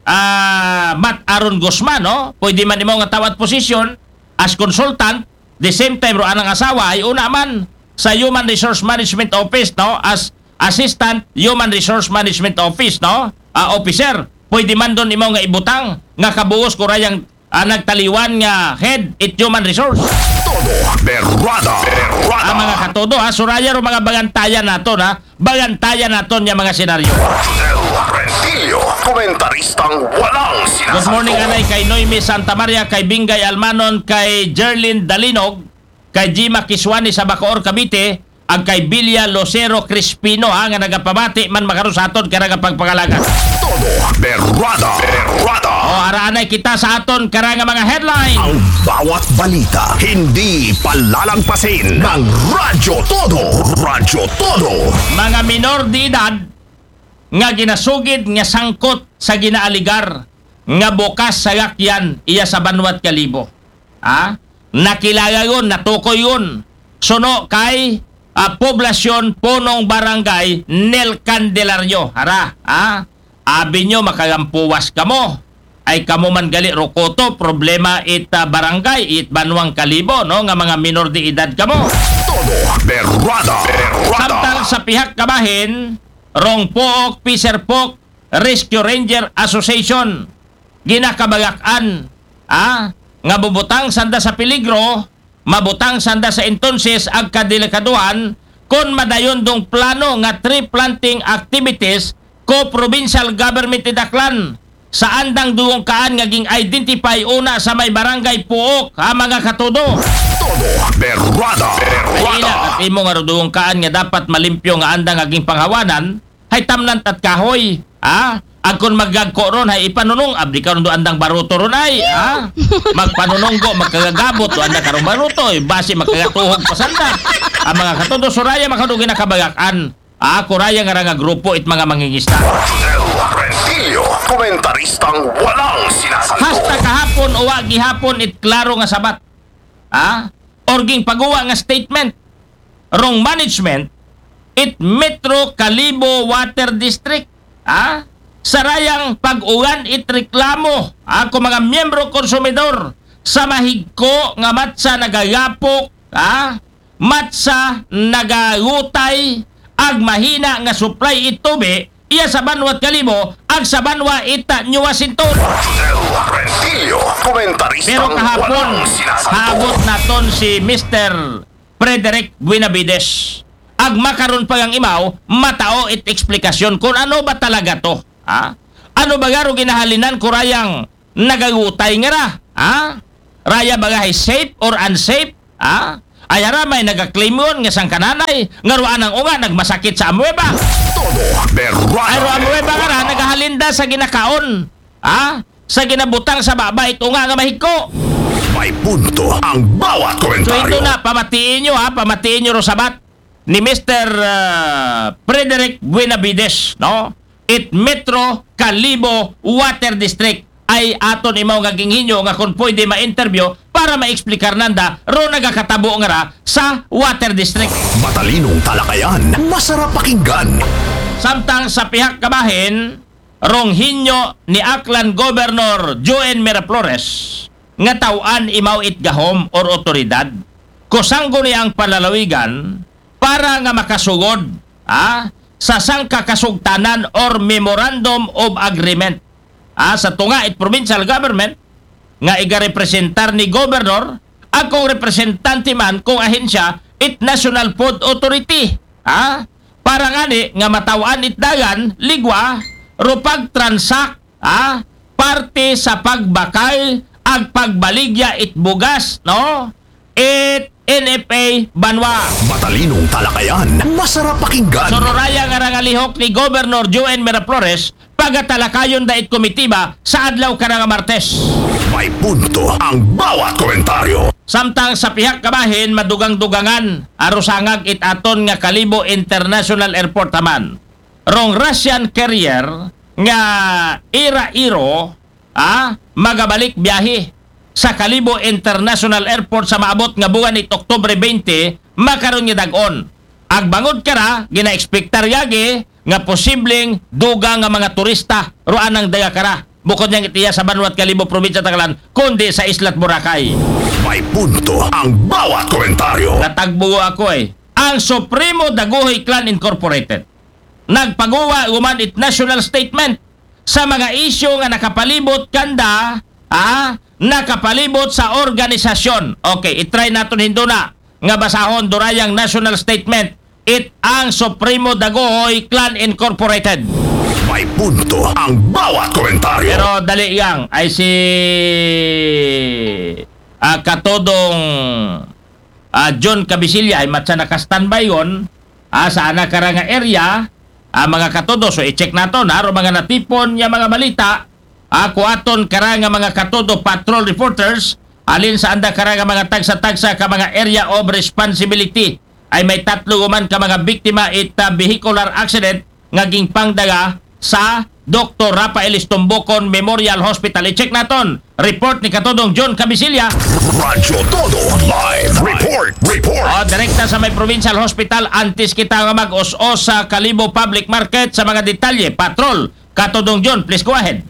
ah, Matt Aaron Guzman, no? Pwede man imaw nga tawat posisyon as consultant, the same time ro anang asawa ay una man sa Human Resource Management Office, no? As Assistant Human Resource Management Office, no? Ah, officer. Pwede man don imaw nga ibutang nga kabuos ko rayang, ah, nagtaliwan nga head it human resource. Todo berrada, berrada. Ah, mga katodo, ha, suraya ro mga bangantayan naton, ha. Bangantayan naton nga mga senaryo. Josel Rentillo, komentaristang walang sinasagot. Good morning, anay, kay Noemi Santa Maria, kay Bingay Almanon, kay Jerlyn Dalinog, kay Jima Kiswani sa Bacoor, Cavite, ag kay Bilya Lucero Crispino, ha, nga nagapamati man makaron sa aton karang nga pagpangalaga. Todo berrada, berrada. O, araanay kita sa aton karang nga mga headline. Ang bawat balita, hindi palalagpasin ng Radyo Todo. Radyo Todo. Mga minor de edad nga ginasugid nga sangkot sa ginaaligar nga bukas sa gakyan iya sa Banwat Kalibo. Ha? Nakilala yun, natukoy yun. Suno kay, ah, Poblasyon Punong Barangay Nel Candelario. Hara, ha? Abi nyo, makagampuwas kamo. Ay kamo man gali rukoto, problema it, ah, barangay, it Banwang Kalibo, no? Nga mga minor de edad kamo. Todo berrada, berrada. Samtang sa pihak kabahin, rong Pook, Piser Pook, Rescue Ranger Association, ginakabagakan, ah, nga bubutang sanda sa peligro, mabutang sanda sa entonces ag kadelikaduhan kon madayon dong plano nga tree planting activities ko provincial government it Aklan sa andang dungkaan nga ging-identify una sa may barangay Puok, ha, mga katudo. Todo berrada, berrada. Ay ina, kat imo nga dungkaan nga dapat malimpyo nga andang aging panghawanan, hay tamnan tat kahoy, ha? Ag kon magagko ron, hay ipanunong, abdi karon do andang baruto ron ay, ha? Magpanunonggo, magkagagabot, do anda karong baruto, eh, basi magkagatuhog pa sanda. Ang mga katudo, suraya, makadugi na kabagakan. Ah, kuraya nga ra nga grupo it mga mangingisda. Josel Rentillo, komentaristang walang sinasagot. Hasta kahapon, uwa gihapon it klaro nga sabat. Ah? Or ging paguwa nga statement rong management it Metro Kalibo Water District, ah, sa rayang pag-uwan it reklamo, ah, ko mga miyembro konsumidor sa mahigko nga matsa nagagapok, ah, matsa nagagutay ag mahina nga supply it tubi iya sa banwa Kalibo ag sa banwa ita New Washington. Josel Rentillo, komentarista. Pero kahapon, walang sinasagot. Haabot naton si Mister Frederick Buenavides. Ag makaron pa ang imaw, matao it eksplikasyon kung ano ba talaga to. Ha? Ano ba garo ginahalinan ko rayang nagagutay nga ra? Ha? Raya ba gahay safe or unsafe? Ha? Ay hara may nagaklaim yun nga sangkananay, nga ruan ang unga nagmasakit sa amueba. Todo berrada. Ay ruan amueba nga ra, nagahalinda sa ginakaon. Ha? Sa ginabutang sa baba it unga nga mahigko. May punto ang bawat komentaryo. So ito na, pamatiin nyo ha, pamatiin nyo ro sabat ni Mister, ah, Frederick Buenavides, no? It Metro Kalibo Water District. ay aton imaw nga ginhinyo nga kon pwede ma-interview para ma-explicar nanda ro nagakatabo nga ra sa Water District. Matalinong talakayan, masarap pakinggan. Samtang sa pihak kabahin, rong hinyo ni Aklan Governor Joen Miraflores nga taw-an imaw it gahom or otoridad, kusanggo niya ang palalawigan para nga makasugod, ah, sa sangka kasugtanan or memorandum of agreement, ah, sa tunga it provincial government nga igarepresentar ni Governor, akong representante man kung ahensya it National Food Authority, ah, para ngani nga mataw-an it dagan, ligwa, ro pag-transact, ah, parte sa pagbakal ag pagbaligya it bugas, no? It N F A banwa. Matalinong talakayan, masarap pakinggan. Sururaya nga rangalihok ni Governor Joen Miraflores, pagatalakayon da it komitiba sa adlaw kara nga Martes. May punto ang bawat komentaryo. Samtang sa pihak kabahin, madugang-dugangan, arusangag it aton nga Kalibo International Airport haman. Rong Russian carrier nga Ira Iro, ah, magabalik biyahe sa Kalibo International Airport sa maabot nga buwan it Oktubre twenty, makaron nga dag-on. Agbangod kara, ginaekspektar yagi nga posibleng dugang nga mga turista ro anang daga kara. Bukod niyang itiya sa banwat Kalibo, probinsya Tacloban, kundi sa Islat Boracay. May punto ang bawat komentaryo. Natagbugo ako eh. Ang Supremo Daguhoy Clan Incorporated nagpaguwa human it national statement sa mga isyu nga nakapalibot kanda, ah, nakapalibot sa organisasyon. Okay, itry naton hinduna nga basahon durayang national statement. It ang Supremo Daguhoy Clan Incorporated. May punto ang bawat komentaryo. Pero dali yang ay si, ah, Katodong, ah, John Cabisilla ay matsa naka-standby yon, ah, sa ana kara nga area, ah, mga katodo. So, i-check naton, ha, ro mga natipon nga mga balita, ah, kuaton kara nga mga katodo patrol reporters, alin sa anda kara nga mga tagsa-tagsa ka mga area of responsibility. Ay may tatlo human ka mga biktima it, ah, vehicular accident nga gingpangdaga sa Doktor Rafael Estombocon Memorial Hospital. I-check naton. Report ni Katodong John Cabisilla. Radyo Todo Live Report. Report. O, direkta sa may Provincial Hospital, antes kita nga mag-us-os sa Kalibo Public Market sa mga detalye. Patrol, Katodong John, please go ahead.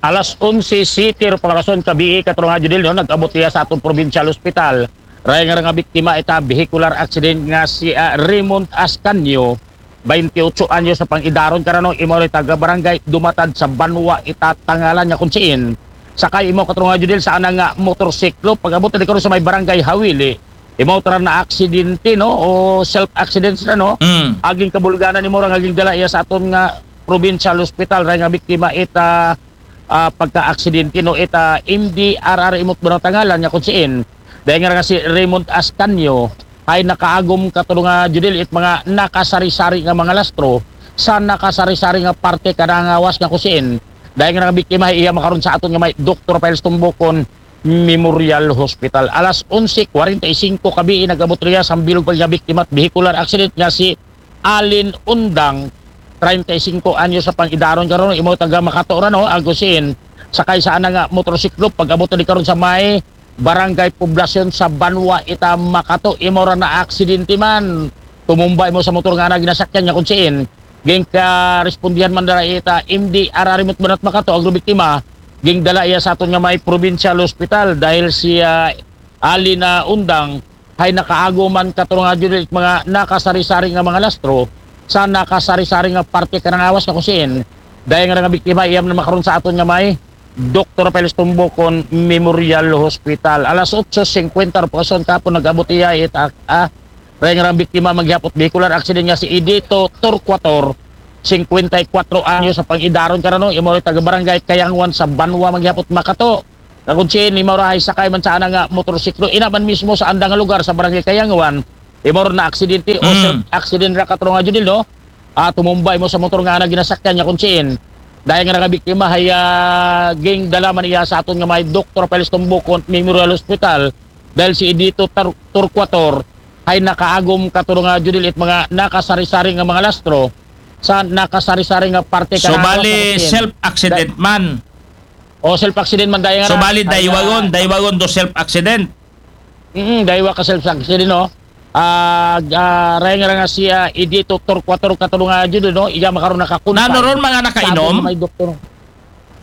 Alas onse sete ro pang orason kabii, Katodong Judil, no, nag-abot iya sa atong provincial hospital. Raya nga nga biktima ita vehicular accident nga si, ah, Raymond Ascanio, twenty-eight anyos sa pang-idaron karano, imo ri taga barangay Dumatad sa Banwa ita Tangalan, nga kung siin sakay imo, Katodong Judil, sa ana nga motorsiklo. Pag-abot na di karon sa may barangay Hawili, imo tara na aksidente, no, o self accident sila, no? Mm. Aging kabulganan nimo ra nga gingdala iya sa aton nga provincial hospital, raya nga biktima ita, ah, pagka-aksidente, no, ita M D R R imot ba ng tangalan nga kung siin. Dahil nga nga si Raymond Ascanio ay nakaagom, Katodong Judil, it mga nakasari-sari nga mga lastro sa nakasari-sari nga parte kanang gawas nga kung siin. Dahil nga nga biktima, iya makaron sa aton nga may Doktor Rafael Estombocon Memorial Hospital. Alas onse kwarenta y singko kabii, nag-abot riya sa bilog pa nga biktima at vehicular accident nga si Alin Undang, treinta y cinco anyos sa pang-idaron karon, imo taga Makato ra, no, ang kung siin sakay sa ana nga motorsiklo. Pag-abot na di karon sa may Barangay Poblacion sa Banwa ita Makato, imo ra na aksidente man. Tumumba imo sa motor nga ana ginasakyan nga kung siin. Ging karespondihan man dara ita M D R R imot banat Makato, ang biktima, ging dala iya sa aton nga may provincial hospital dahil si, ah, Alin, ah, Undang, hay nakaagom man, Katodong Judil, mga nakasari-sari nga mga lastro sa nakasari-sari nga parte kanang gawas nga kung siin. Dahil nga nga biktima, iyam na makaron sa aton nga may Doktor Rafael Estombocon Memorial Hospital. Alas otso singkwenta ro pang orason kahapon nag-abot iya it, ah, ah, raya nga biktima, manggihapot vehicular accident nga si Edito Torquator, singkwenta y kwatro anyos sa pang-idaron karano, imo ri taga Barangay Kayanguan sa Banwa, manggihapot Makato. Nga kung siin, imo ra hay sakay man sa ana nga motorsiklo, ina man mismo sa anda nga lugar sa Barangay Kayanguan, imo ra na aksidente o Mm. self accident ra, Katodong Judil, no? Ah, tumumba imo sa motor nga ana ginasakyan nga kung siin. Dahil nga nga biktima hay, ah, ging dala man iya sa aton nga may Doktor Rafael Estombocon Memorial Hospital dahil si Edito Tar-, Torquator hay nakaagom, Katodong Judil, it mga nakasari-sari nga mga lastro sa nakasari-sari nga parte So, kanang bali, gawas nga kung siin. Self accident man. O, self-accident man daya nga. So, na. Bali, ay, daywagon, ah, daywagon do self-accident. Mm, daywa ka self-accident, no? Ah, ah, raya nga ra nga siya, Edito Torquator kato nga jud, no? Iya makaron nakakunta. Nano ron, mga nakainom? Sa aton may doktor.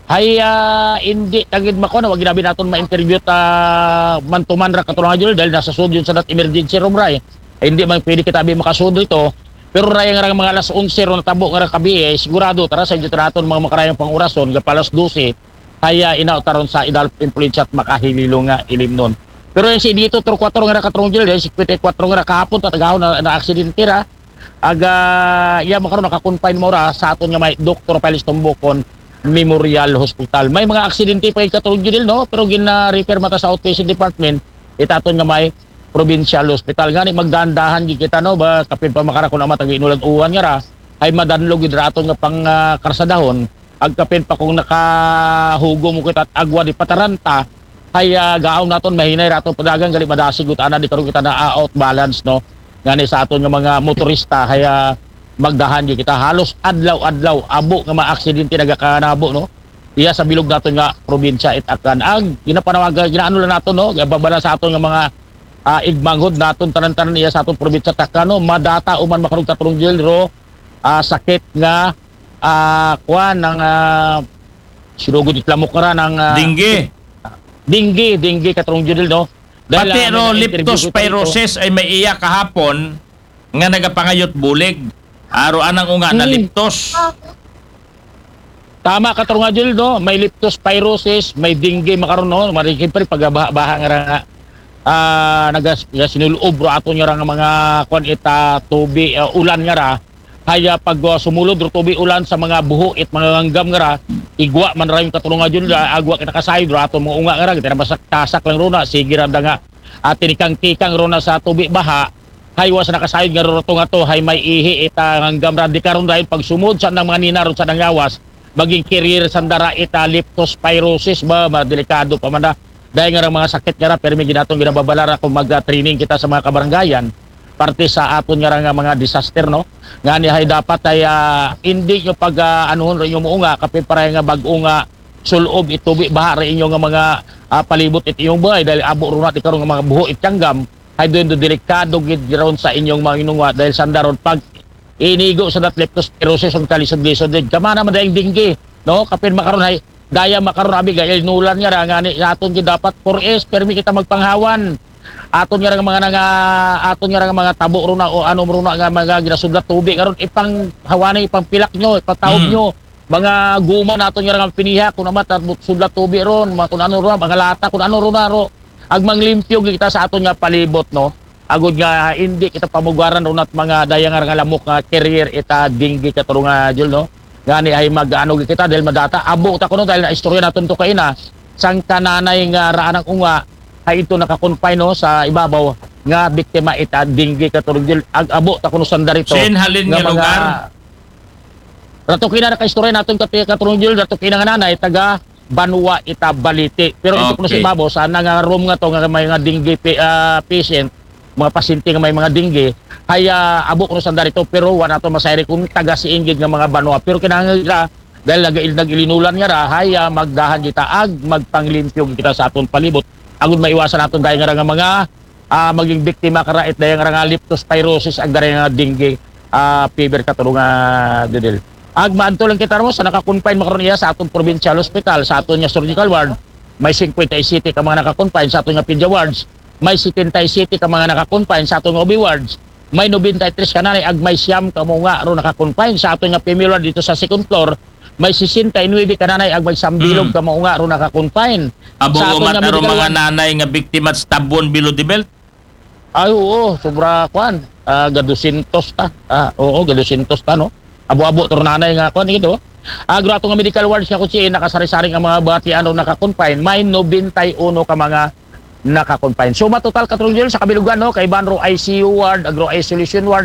Hay, ah, hindi, tagid mako na, wag ginabi naton ma-interview ta man-to-man ra kato nga jud, dahil nasa sud yun sa that emergency room, ray. Ay, hindi man pwede kita bi makasud dito. Pero raya nga ra mga alas onse ron natabo nga ra kabi, eh, sigurado, tara, sa inyo naton mga makarayang pang-orason, gapa alas dose, kaya inaw taron sa idal influensya at makahililo nga ilimnon. Pero yung si dito, Torquator nga ra katrong jil, yung singkwenta y kwatro nga ra kahapon, tatagaw na, na aksidente ra. Aga, iya makaron nakakonfine mo ra sa aton nga may Doktor Piles Tumbukon Memorial Hospital. May mga aksidente pa yung katrong jil, no? Pero gina-refer mata sa outpatient department, itaton nga may provincial hospital. Ngani, magdahan-dahan gid kita, no? Ba, kapin pa makara kung amat ang inulag uwan nga ra, ay madanlog gid ra aton nga pang, ah, karsadahon. Agkapin pa kung nakahugo mo kita at agwa di pataranta, ay, ah, gaon naton mahinay rato padagan gali madasig ut ana di karon kita na, ah, out balance, no? Ngani sa aton nga mga motorista, ay, ah, magdahan di kita halos adlaw-adlaw abo nga mga aksidente nagakanabo, no? Iya sa bilog naton nga probinsya it akan ag ginapanawagan ginaano lang naton, no? Babala sa aton nga mga, ah, igmanghod naton tanan-tanan iya sa aton probinsya taka, no? Madata uman makarog katrong jil ro, ah, sakit nga, ah, kuan, ang, ah, sinugod itlamok ra ng, ah, dengue. Dengue, dengue, katrong judil, no? Dahil, pati ah, ro may na-interview ko ito. Leptospirosis ay may iya kahapon nga nagapangayot bulig. Aro anang unga na leptos. Tama ka, Trung Adil, no? May leptospirosis, may dengue, makaron, no? Marikid pa rin pagbaha-baha nga ra nga. Ah, nagas, ya, sinulob ro ato nga ra nga mga, kwan, ita, tubi, ah, ulan nga ra. Haya pag, ah, sumulod ro tubi ulan sa mga buho it mga nganggam nga ra, igwa man ra yung katrong nga jud, ah, agwa kita kasayod ro ato mga unga nga ra, kita na masak-, tasak lang ro na, sige ra da nga, ah, tinikang-tikang ro na sa tubi baha, hay wa sa nakasayod nga ro to nga to, hay may ihi ita nganggam ra, di karon dahil pag sumod sa nang mga nina ro sa nangyawas, maging carrier sa dara ita leptospirosis ba, ma-, delikado pa man da. Dahil nga ra mga sakit nga ra, pero may ginatong ginababalara kung mag-training kita sa mga kabarangayan, parte sa aton nga ra nga mga disaster, no? Nga ni hay dapat ay, ah, hindi nyo pag, ah, anuhon rin yung muunga, kapit para nga bag-o nga sulob itubi baha rin inyo nga mga, ah, palibot it inyong buhay, dahil abo ron natin karon nga mga buho it tyanggam, hay doon do delikado gid ron sa inyong mga inunga, dahil sandaron pag inigo sa dat leptospirosis ang kalisod-lisod din. Kamana man dahil dengue, no? Kapin makaron hay, daya makaron abi ga inulan nga ra, nga ni, aton gid dapat four S, permi kita magpanghawan. Aton nga ra nga mga nanga, aton nga ra nga mga tabo ro na o ano ro na nga mga ginasudlat tubi, karon ipang hawani, ipang pilak nyo, ipatawag nyo. Mga guma naton nga ra nga piniha, kung amat, sudlat tubi ron, mga kung ano ro, mga lata, kung ano ro na ro. Agmanglimpyo gid kita sa aton nga palibot, no? Agud nga hindi kita pamugaran ron at mga daya nga ra nga lamok nga carrier ita dengue katrong nga jul, no? Ngani ay mag-ano gid kita dahil madata. Abo ta kuno dahil na istorya naton to kaina. Sang kananay nga raan ang unga, ay ito nakakonfine, no, sa ibabaw nga biktima ita dengue katrong jul. Ag-abo ta kuno sanda rito. Sin halin nga mga lugar? Rato kina nakaistorya naton kati katrong jul, rato kina nga nanay, taga Banwa ita Balite. Pero ito kuno sa ibabaw, sa nga room nga to, nga may nga dengue pa-, ah, patient, mga pasyente nga may mga dengue, hay, ah, abo kuno sanda rito, pero wa nato masayri kung taga si Ingrid nga mga banwa. Pero kinahanglan ra, dahil nag-, nag-ilinulan nga ra, hay, ah, magdahan kita ag magpanglimpyo kita sa aton palibot. Agud maiwasan naton dahil nga ra nga mga, ah, maging biktima ka ra it dahil nga ra nga leptospirosis ag dahil nga dengue, ah, fever katrong nga judil. Ag maadto lang kita ro sa nakakonfine makaron iya sa aton provincial hospital, sa aton nga surgical ward, may singkwenta y siyete ka mga nakakonfine, sa aton nga pedia wards, may setenta y siyete ka mga nakakonfine, sa aton nga O B wards, may nobenta y tres ka nanay, ag may siyam ka mga ro nakakonfine, sa aton nga female ward dito sa second floor, may sesenta y nuebe ka nanay, ag may sambilog ka mga ro nakakonfine. Abo sa aton umat nga aro medical mga ward, nanay nga biktima sa tabon below the belt. Ay, oo, sobra, kwan. Ah, ga dosyentos ta. Ah, oo, ga dosyentos ta, no? Abo-abo, to ro nanay nga, kwan, ito. Agro ato nga medical wards nga kutsi, nakasari-sari nga mga batian o nakakonfine. May nobenta y uno ka mga nakakonfine. So, matotal katrong jul sa kabilugan, no? Kay banro I C U ward, agro isolation ward,